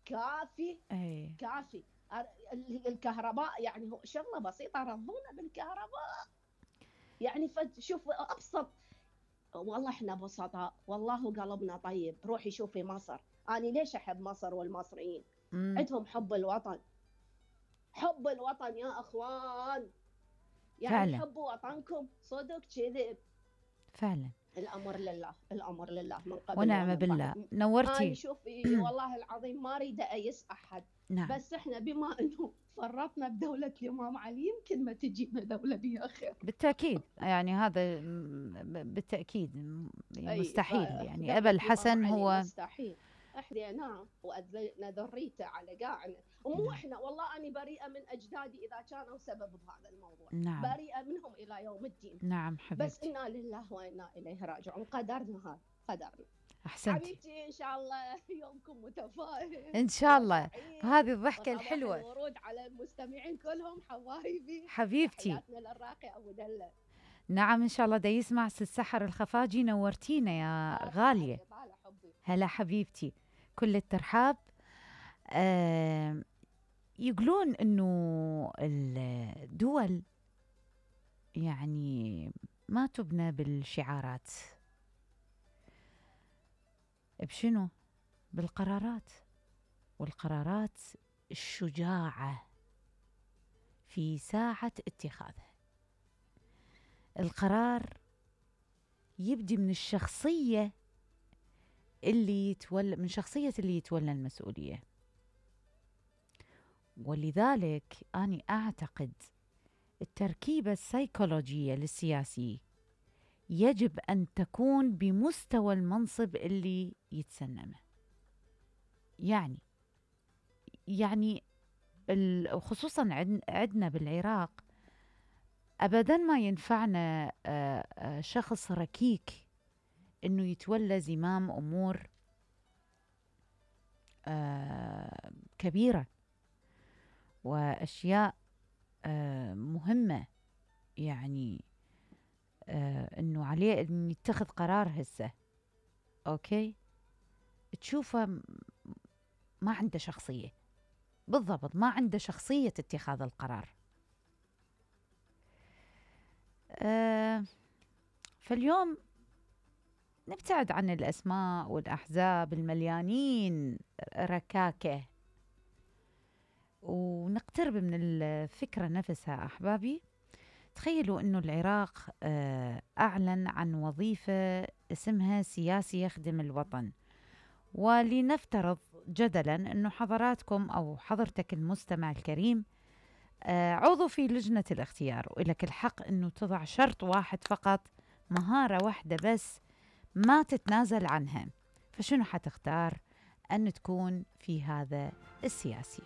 كافي. كافي. الكهرباء يعني هو شغله بسيطه، رضونا بالكهرباء يعني. شوف ابسط، والله احنا بسطاء، والله قلبنا طيب. روحي شوفي مصر، انا ليش احب مصر والمصريين؟ عندهم حب الوطن، حب الوطن يا اخوان، يعني فعلا. حبوا وطنكم صدق كذب. فعلا. الامر لله، الامر لله من قبل ونعم ومن بالله. بعد. نورتي. انا شوفي والله العظيم ما اريد ايس احد. نعم. بس احنا بما انه فرطنا بدولة الامام علي، يمكن ما تجينا دولة بها خير. بالتأكيد، يعني هذا بالتأكيد مستحيل، يعني أبا دولة الامام الحسن علي هو. مستحيل. احنا وأذلنا ذريته على قاعنا، ومو نعم. احنا، والله أنا بريئة من أجدادي إذا كانوا سبب بهذا الموضوع، نعم. بريئة منهم إلى يوم الدين. نعم بس حبيبتي. إنا لله وإنا إليه راجعون، قدرنا هذا قدرنا. أحسنتي. حبيبتي إن شاء الله يومكم متفائل إن شاء الله. وسعيد، هذه الضحكة وصباح الحلوة. الورود على المستمعين كلهم حبايبي. حبيبتي. تحياتنا للراقي أبو دلة. نعم إن شاء الله دا يسمع السحر الخفاجي. نورتينا يا غالية. هلا حبيبتي، كل الترحاب. يقولون إنه الدول يعني ما تبنى بالشعارات، بشنو؟ بالقرارات، والقرارات الشجاعة في ساعة اتخاذها. القرار يبدي من الشخصية اللي يتولى، من شخصية اللي يتولى المسؤولية. ولذلك أنا أعتقد التركيبة السيكولوجية للسياسي يجب أن تكون بمستوى المنصب اللي يتسنمه. يعني خصوصا عندنا بالعراق أبدا ما ينفعنا شخص ركيك إنه يتولى زمام أمور كبيرة وأشياء مهمة، يعني إنه عليه إنه يتخذ قرار هسه. أوكي، تشوفه ما عنده شخصية، بالضبط ما عنده شخصية اتخاذ القرار. فاليوم نبتعد عن الأسماء والأحزاب المليانين ركاكة، ونقترب من الفكرة نفسها. أحبابي، تخيلوا أنه العراق أعلن عن وظيفة اسمها سياسي يخدم الوطن، ولنفترض جدلا أنه حضراتكم أو حضرتك المستمع الكريم عضو في لجنة الاختيار، ولك الحق أنه تضع شرط واحد فقط، مهارة واحدة بس ما تتنازل عنها. فشنو حتختار أن تكون في هذا السياسي؟